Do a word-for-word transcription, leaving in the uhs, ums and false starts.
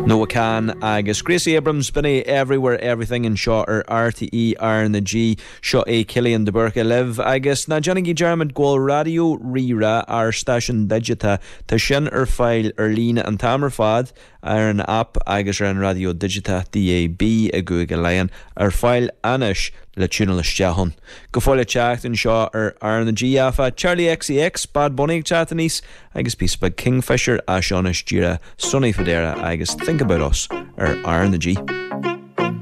Noah Kahan agus Gracie Abrams b'in é Everywhere Everything anseo ar RTÉ R na G seo é Cillian de Búrca libh agus ná déanaigí dearmad go bhfuil Raidió Rí-Rá ár stáisiún digiteach tá sin ar fáil ar líne an t-am ar fad ar an app agus ar an raidió digiteach DAB i gCúige Laighean ar fáil anois le tiúnáil isteach ann. Go fóill ag teacht anseo ar R na G áfach Charli XCX Bad Bunny ag teacht aníos agus píosa beag Kingfisher as seo anois díreach Sonny Fodera agus Think About Us ar R na G.